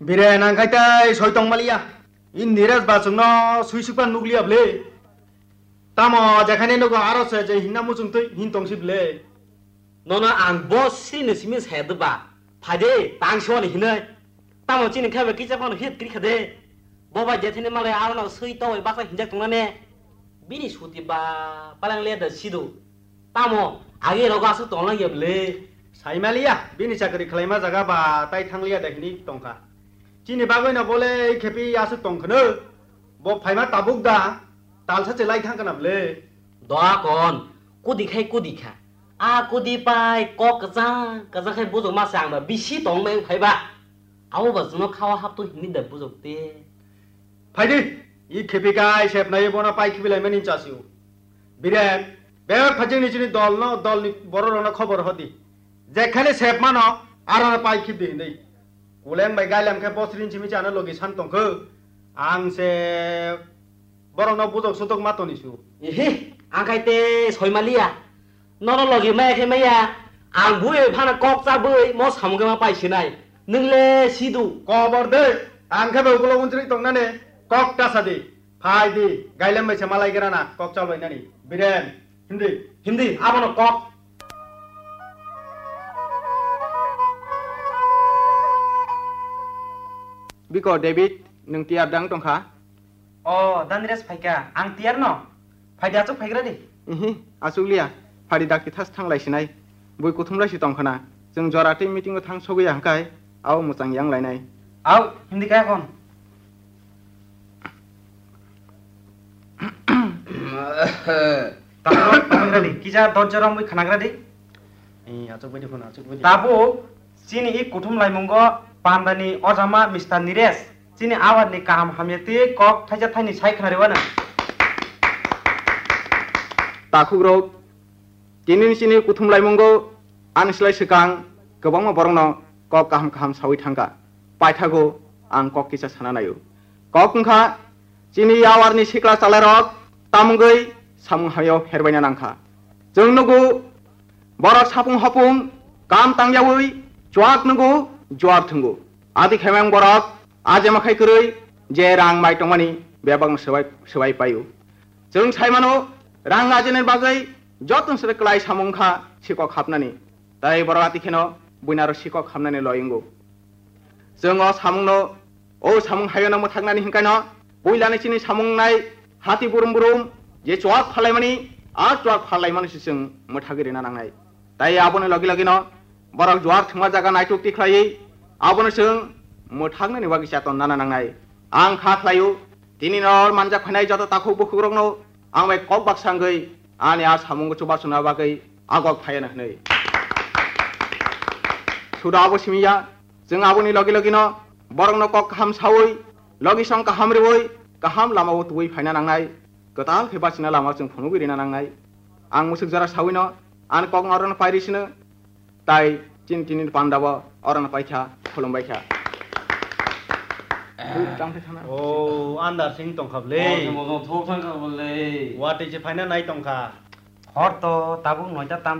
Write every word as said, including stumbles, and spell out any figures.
Bire nang khai tai soi tong maliya. In Niraj ba chwngno sui sukpan nukliya bwle. Tamo jekhane nugo aro se je hinna muchung twi hin tong si bwle. Nono ang bo sini simi se de ba. Phai de tang soni hinai. Tamo chini khai ba kicha phano hit kri kha de. Bo ba je thini malai aro no sui to ba sa hinjak tong ne. Bini suti ba palang le da sido. Tamo agi rogo aswk tong lang ya bwle. Sai maliya bini chakri khlaima jaga ba tai thang liya da hini tong kha. Chini bagwi no bole khepi aswk tong khno. Bo phaima tabuk da. Talsa che lai thang kana bwle. Doa kon, kudi khai kudi kha. A kudi pai kok kwchang kwchang khai bujok ma chang ba bisi tong meng phai ba. Abo ba chwngno khawa hap to hini da bujok te. Phai di, i khepi kai sep nai bono pai khibi lai mani chasio. Biren, bebak phajing ni chini dol no, dol ni borok rok no khobor hodi. Jekhane sep mano, aro no pai khib di hindui. Kuleng bai gailam khe bosri ni simi chana logi san tong kho. Ang se borok no bujok sutok ma toni su. Ihi, ang khai te soi maliya. Nono logi maya khe maya. Ang bui phana kok cha bui mo samung khe ma pai sinai. Nwng le sidu. Kobor de. Ang khe be ukulok unsuri tong nani. Kok ta sa di. Phai di. Gailam bai se malai gra na. Kok cha bai nani. Biren. Hindi. Hindi, abono kok. Biko David, nwng tiyar dang tongkha? O, Danires phaikha, ang tiyar no. Phaidi achuk phaigra di. Ihi, achuk liya. Phadi dakti thas thanglai sinai. Bui kuthumlai si tongkhana. Chwng jora tei meeting o thang sogwi ya hwnkhe, abo mwchang yang lainai. Au, hindi kaya kon. Tamo, tamo gra di. Kisa dorja romwi khanagra di. Eh, achuk bai di phone, achuk bai di. Tabuk chini i kuthum laimungo pandani ojama Mister Nires. Chini awar ni kaham hamya twi kok thaisa thaini sai khwnari wano. Takhukrok, tini ni chini kuthum laimungo ani slai swkang kwbangma borokno kok kaham kaham sawi thangkha. Paithago ang kok kisa sana naio. Kok wngkha chini yawarni sikla chalairok tamungwi samung hamyao pherbaina nangkha. Chwng nugo borok sapung hopung kam tangyawi chuak nugo juar thwngo. Adi khaimang borok ajema khai kwrwi je rang mai tongmani bebakno swbai, swbai paio. Chwng sai mano, rang ajinani bagwi joto se kwlai samung kha sikok hapnani. Tai borok ati kheno buinaro sikok hapnani loi wngo. Chwng o samungno, o samung hayono mwthaknani hinkaino puilani chini samung nai hati burum burum je chuak phalaimani, a chuak phalaimani se chwng mwthagwi rina nangnai. Tai aboni logi logino borok juar thwngma jaga naituk tikhlaiwi abono chwng mwthaknani bagwi chaton nana nangnai. Ang kha khlaio, tini no manjak phainai joto takhuk bukhukrokno ang bai kok baksa wngwi ani a samungo chubachu na bagwi agok phaiya hwnwi. Suda abo simi ya, chwng aboni logi logino borokno kok kaham sawi, logi song kaham riwi, kaham lamao tuwi phaina nangnai. Kwtal khe bachina lama chwng phunugwi rina nangnai. Ang musuk jora sawino ani kok orono pairi sino, tai chini tini panda bo orono paikha, khulumbaikha. Tang thai thana. O, andar sing tongkha bwle. O, thok thang kha bwle. Watwi se phaina nai tongkha. Hor to tabuk noita tam